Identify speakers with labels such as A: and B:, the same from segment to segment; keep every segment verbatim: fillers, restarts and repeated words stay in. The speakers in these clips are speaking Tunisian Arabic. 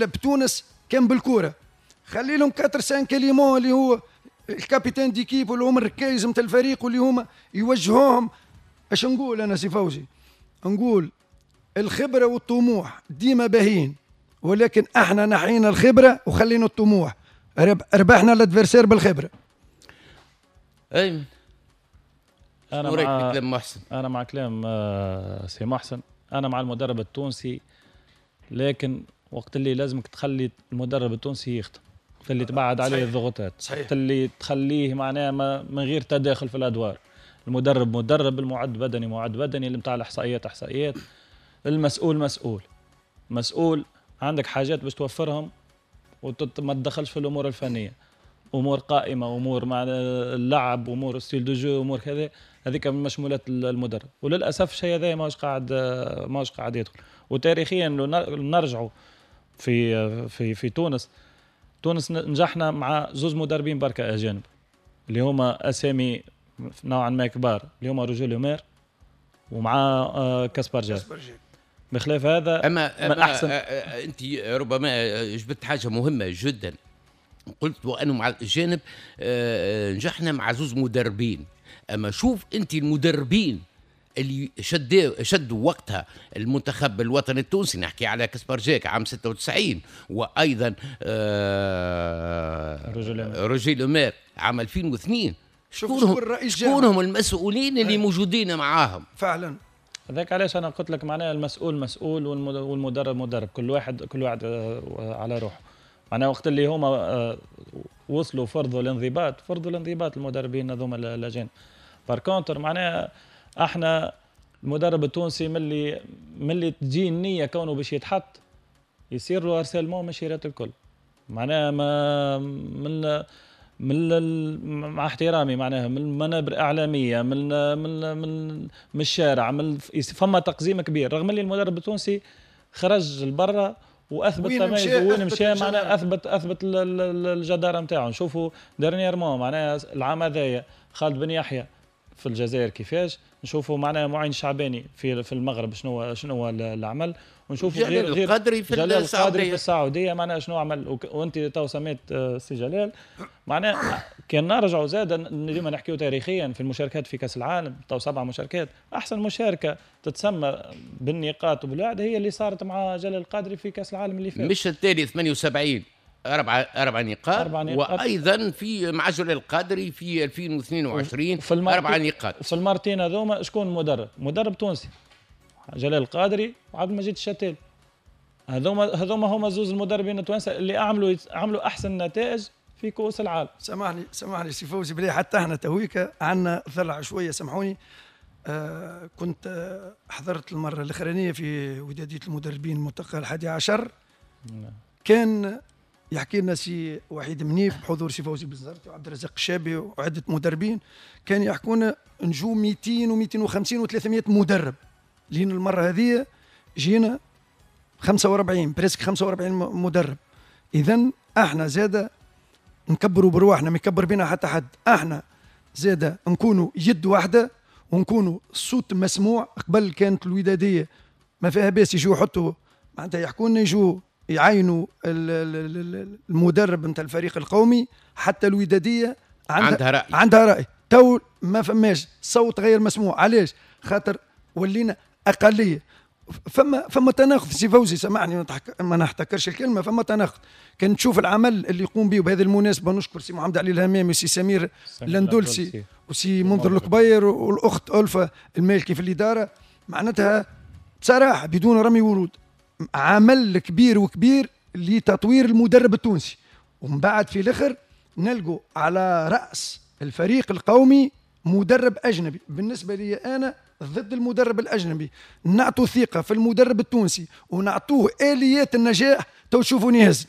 A: بتونس كان بالكورة، خلي لهم أربعة خمسة éléments اللي هو ال capitaine d'équipe واللي هما الركايز نتاع الفريق واللي هما يوجهوهم. اش نقول انا سي فوزي؟ نقول الخبرة والطموح ديما باهين، ولكن احنا نحينا الخبرة وخلينا الطموح، ربحنا l'adversaire بالخبرة.
B: اي
C: انا مع
B: كلام محسن،
C: انا مع كلام سي محسن، انا مع المدرب التونسي، لكن وقت اللي لازمك تخلي المدرب التونسي يخدم، وقت اللي تبعد عليه الضغوطات، وقت اللي تخليه معناها من غير تداخل في الادوار. المدرب مدرب، المعد بدني معد بدني، اللي نتاع الاحصائيات احصائيات، المسؤول مسؤول، مسؤول عندك حاجات باش توفرهم وما تدخلش في الامور الفنية، امور قائمة، امور مع اللعب، امور style de jeu، امور كذا، هذيك من مشمولات المدرب. وللاسف الشيء هذا ماهوش قاعد ماهوش قاعد يدخل. وتاريخيا لو نرجعوا في في في تونس، تونس نجحنا مع زوز مدربين بركة اجانب اللي هما اسامي نوعا ما كبار، اللي هما روجي لومير ومع كاسبار جاك. بخلاف هذا
B: اما, أما احسن. انت ربما جبت حاجة مهمة جدا، قلت وانه مع الجانب نجحنا مع زوز مدربين، اما شوف انت المدربين اللي شدوا شدوا وقتها المنتخب الوطني التونسي، نحكي على كاسبار جاك عام ستة وتسعين، وايضا آه روجي لومير عام ألفين واثنين. شكون شكون المسؤولين اللي موجودين معاهم
A: فعلا؟
C: هذاك علاش انا قلت لك معناها المسؤول مسؤول والمدرب مدرب، كل واحد كل واحد على روحه. معناها وقت اللي هما وصلوا فرضوا الانضباط، فرضوا الانضباط المدربين هذوما الاجانب. par contre معناها احنا المدرب التونسي ملي ملي تجي النية كونه باش يتحط يصير له harcèlement من شيرات الكل. معناها ما من من مع احترامي معناها من المنابر الاعلامية، من من من من الشارع، من فما تقزيم كبير، رغم اللي المدرب التونسي خرج لبرا واثبت تميزه وين مشى، معناها اثبت اثبت الجداره نتاعو. نشوفوا dernièrement معناها العام هذايا خالد بن يحيى في الجزائر كيفاش، نشوفوا معناها معين شعباني في في المغرب شنو شنو العمل، ونشوفوا
B: جلال
C: غير
B: القادري في
C: جلال القادري في السعودية معناها شنو عمل. وانت تو سميت سي جلال، معناها كان نرجعوا زاد ديما نحكيو تاريخيا في المشاركات في كاس العالم، تو سبع مشاركات، احسن مشاركة تتسمى بالنقاط وبالوعد هي اللي صارت مع جلال القادري في كاس العالم اللي فات،
B: مش التالي ثمانية وسبعين أربعة أربع نقاط، أربع نقاط، وأيضا في مع جلال القادري في ألفين واثنين وعشرين أربع نقاط.
C: في المرتين هذوما شكون مدرب؟ مدرب تونسي جلال القادري وعبد المجيد الشتال. هذوما هذوما هما زوز المدربين التوانسة اللي عملوا عملوا احسن نتائج في كؤوس العالم.
A: سامحني سامحني سي فوزي بلي حتى احنا تويكا عندنا ثلع شوية، سامحوني. آه كنت آه حضرت المرة الاخرانية في وداديه المدربين الملتقى الحادي عشر. نعم. كان يحكي لنا سي وحيد منيف بحضور سي فوزي بالزرتي وعبد الرزاق الشابي وعده مدربين، كان يحكونا نجو مئتين ومئتين وخمسين وثلاثمئة مدرب، لين المرة هذه جينا خمسة وأربعين presque خمسة وأربعين مدرب. اذا احنا زاده نكبروا برواحنا، ما يكبر بنا حتى حد، احنا زاده نكونوا يد واحدة ونكونوا الصوت مسموع. قبل كانت الوداديه ما فيها باس يجوا يحطوا معناتها يحكوا لنا، يجوا يعينوا المدرب نتاع الفريق القومي، حتى الوداديه عندها,
B: عندها راي،
A: عندها راي. تو ما فماش صوت غير مسموع، علاش؟ خاطر ولينا اقلية. فما فما تناقض سي فوزي، سامحني ما نحتكرش الكلمة، فما تناقض. كان تشوف العمل اللي يقوم به، وبهذه المناسبة نشكر سي محمد علي الهمامي وسي سمير الاندلسي وسي منذر الكبير والاخت ألفة المالكي في الادارة، معناتها بصراحة بدون رمي ورود عمل كبير وكبير لتطوير المدرب التونسي. ومن بعد في الاخر نلقوا على راس الفريق القومي مدرب اجنبي. بالنسبة لي انا ضد المدرب الاجنبي، نعطوا ثقة في المدرب التونسي ونعطوه اليات النجاح تو تشوفوني يهز.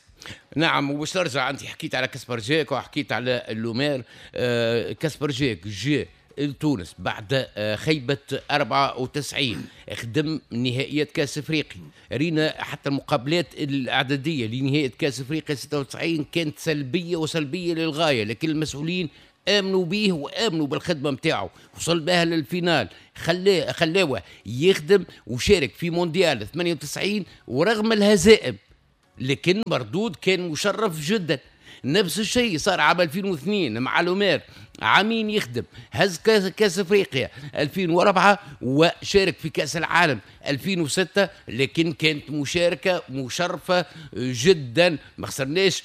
B: نعم، وباش نرجع، انت حكيت على كاسبر جاك وحكيت على اللومير. آه كاسبر جاك جاء لتونس بعد خيبة أربعة وتسعين، خدم نهائيات كاس افريقيا، رينا حتى المقابلات الاعدادية لنهائية كاس افريقيا ستة وتسعين كانت سلبية وسلبية للغاية، لكن المسؤولين امنوا به وامنوا بالخدمة نتاعو، وصل بها لل finale، خلاه خلاوه يخدم وشارك في مونديال ثمانية وتسعين، ورغم الهزائم لكن مردود كان مشرف جدا. نفس الشيء صار عام ألفين واثنين مع لومير، عامين يخدم، هز كاس افريقيا ألفين وأربعة وشارك في كاس العالم ألفين وستة، لكن كانت مشاركة مشرفة جدا، ما خسرناش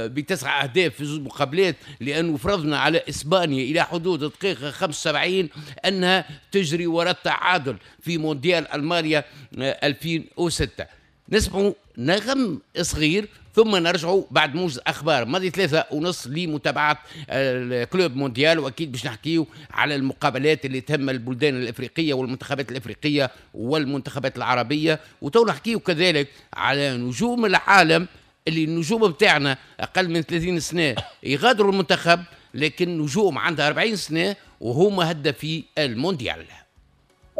B: بتسع اهداف في زوج مقابلات، لانه فرضنا على اسبانيا الى حدود دقيقة خمسة وسبعين انها تجري وراء التعادل في مونديال المانيا ألفين وستة. نسمعوا نغم صغير ثم نرجعوا بعد موجز اخبار ماضي ثلاثة ونص لمتابعة ال Club Mondial، واكيد باش نحكيو على المقابلات اللي تهم البلدان الافريقية والمنتخبات الافريقية والمنتخبات العربية، وتو نحكيو كذلك على نجوم العالم اللي النجوم بتاعنا اقل من ثلاثين سنة يغادروا المنتخب، لكن نجوم عندها أربعين سنة وهما هدافي المونديال.